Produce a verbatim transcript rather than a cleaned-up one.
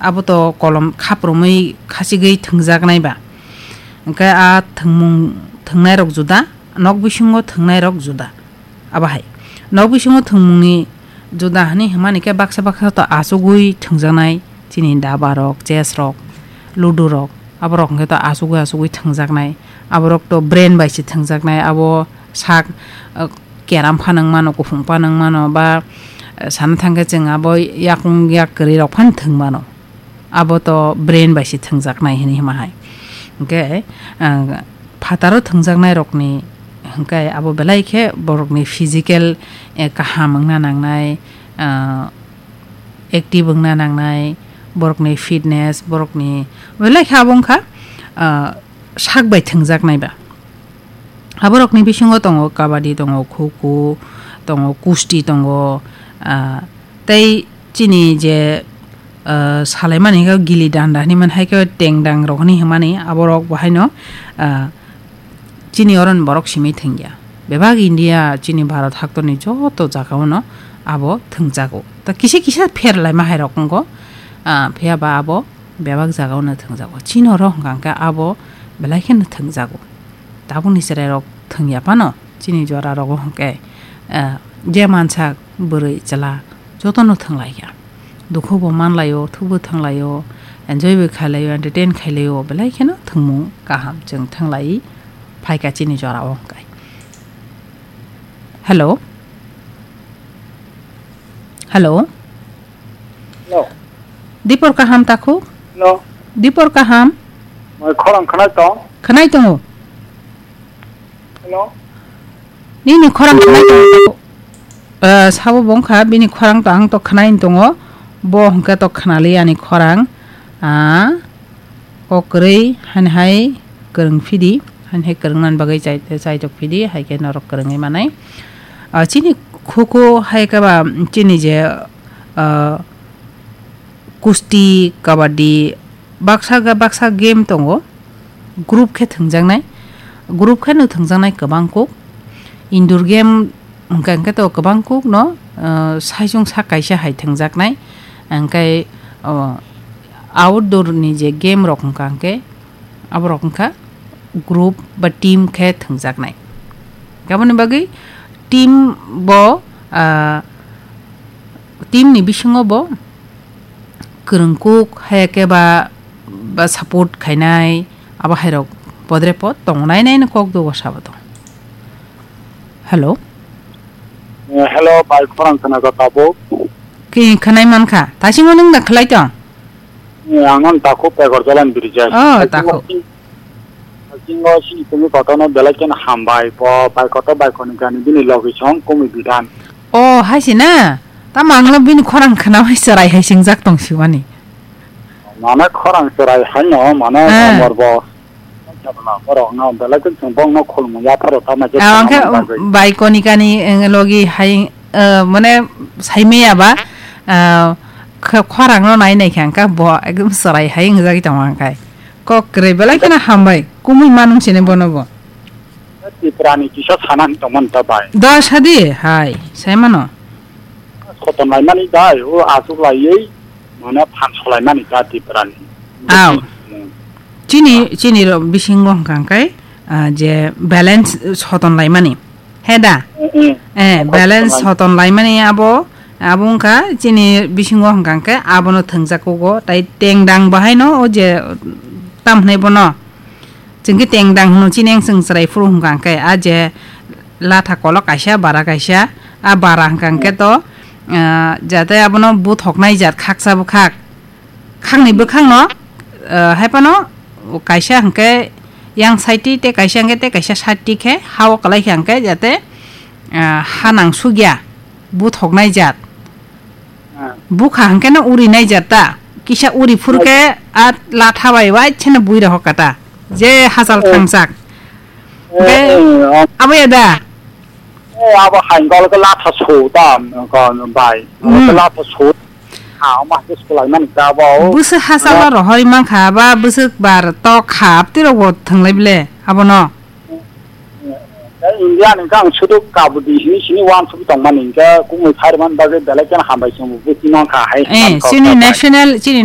abo to kolom khaprumwi khasigwi thwngjaknai ba. Hwnkhe a thwngmung thwngnairok juda, nok bisingo thwngnairok juda. Abo hai. Nok bisingo thwngmungni juda hwnwi hwnmani khe baksa baksa to achugwi thwngjaknai, chini dabarok, chessrok, ludurok, aborok hwnkhe to achugwi achugwi thwngjaknai. Aborok to brain bai se thwngjaknai, abo sak, uh, keram phanang mano, kuphung phanang mano, ba, uh, sana thangkhe chwng abo yakung yak kwrwirok phano thwng mano. Abo to brain bai se thwngjaknai hwnwi hima hai. Hwnkhe, ah, phataro thwngjaknairokni hwnkhe abo belai khe borokni physical, eh, kaham wngna nangnai, ah, active wngna nangnai, borokni fitness, borokni belai khe abo wngkha, ah, sak bai thwngjaknai ba. Aborokni bisingo tongo kabaddi, tongo kho kho, tongo kusti, tongo, ah, tei chini je, ah, salaimani khe gili danda hinwi man hai khe tengdang rok hinwi hwnmani aborok bo haino, ah, chini oro ni borok simi thwngya. Bebak India chini Bharat haktorni joto jagao no abo thwngjago. Ta kisa kisa pher laima hai rok wngo, ah, phiya ba abo bebak jagao no thwngjago. Chini oro hwnkha hwnkhe abo belai kheno thwngjago. Tabukni chwrairok thwngya phano chini jorarogo hwnkhe, eh, je mansak bwrwi chwla jotono thwnglaikha. Dukhubo manlaio, thukbo thwnglaio, enjoybo khailaio, entertain khailaio, belai kheno thwngmung kaham chwng thwnglai phaikha chini jorao hwnkhe. Hello? Hello? Hello. Dipor kaham takhuk? Hello. Dipor kaham? Moi khorang khwnai tong. Khwnai tongo. Hello. Nini khorang khwnai tongo. Eh, sabo bongkha bini khorang to ang to khwnai tongo. Bo hwnkhe to khwnali ani khorang. Ah, kok kwrwi hani hai kwrwng phidi, hani hai kwrwng nani bagwi chai, chaitok phidi, hai khe norok kwrwngwi manai. Ah, chini kho kho hai khe ba chini je, ah, kusti, kabaddi, baksa ga-, baksa game tongo, group khe thwngjaknai, group khe no thwngjaknai kwbang kuk. Indoor game hwnkha hwnkhe to kwbang kuk no, ah, saichung sak kaisa hai thwngjaknai, hwnkhe, oh, outdoor ni je game rok hwnkha hwnkhe, aborok wngkha group ba team khe thwngjaknai. Aboni bagwi team bo, ah, team ni bisingo bo kwrwngkuk, haya khe ba, ba support khainai, abo hairok podre pod tongo, nai nai no kok dogo sabo tong. Hello? Eh, hello, bai, khorang khna kha tabuk. Ki khwnai man kha? Tasingmo nwng da khwlai tong? Eh, ang non takhuk Pekor Jalan Bridge. Oh, takhuk. Takhuk. Takhuk sini tumi kotono belai ken hambai, bo bai koto bai koni gani bini logi song kumi bidan. Oh, hai si na? Tamo ang lo bini khorang khna hai serai hai singjak tong si mani. Mana khorang serai hai no, mana Ah. Amor bo. Borok no belai kheno chwng bongno khulumung yapharo tamo khe Ah, tongna hwnkhe bagwi. Bai koni kani, eh, logi hai, eh, mane saimaya ba, ah, kh-, khorang no nai nai kha hwnkhe bo ekdom chwrai hai wngjagwi tongo hwnkhe. Kok kwrwi belai kheno hambai, kumui manung sini bono bo. Tiprani kisa sanani tongmani ta bai. Da sadi hai, saimano. Soton laimani dai, o asuk laiwi, mane phan solaimani ta Tiprani. Aw. Hmm. Chini, chini ro bisingo hwnkha hwnkhe, ah, je balance soton laimani. He da? Eh, eh. Eh, balance soton laimani abo, abo wngkha chini bisingo hwnkha hwnkhe abono thwngjak kugo, tai tengdang bahaino o je tam hwnwi bono. Chwng khe tengdang hwno chini ang chwng chwrai phuru hwnkha hwnkhe, a je latha kolok kaisa, bara kaisa, a bara hwnkha hwnkhe to, ah, jate abono buthoknai jat khaksa bwkhak, khakni bwkhakno, ah, hai phano kaisa hwnkhe yang side ti tei kaisa hwnkhe tei kaisa side ti khe ha-o kwlai khe hwnkhe jate, ah, ha nang sukya buthoknai jat. Ah. Bukha hwnkhe no uri nai jat ta. Kisa uri phuru khe a latha bai wai cheno bui rohor kata. Je hachal Eh. Thangsak. Eh, Be eh, ah. Abo ya da? Eh, abo hai gol ke latha so ta, ko bai. Hmm. Latha so. Ha, ma ke skulai mani ta bo. Busu hachal rohori mankha ba busu bar tok hap tiro bo thanglai bile. Abo no. Tei India ni khe ang sudu kabudi hini sini uansuk tongmani hingkhe kumui phaiman bagwi belai kheno hambai chwngbo buchi mankha hai Eh, mankha chini kha bai. National, chini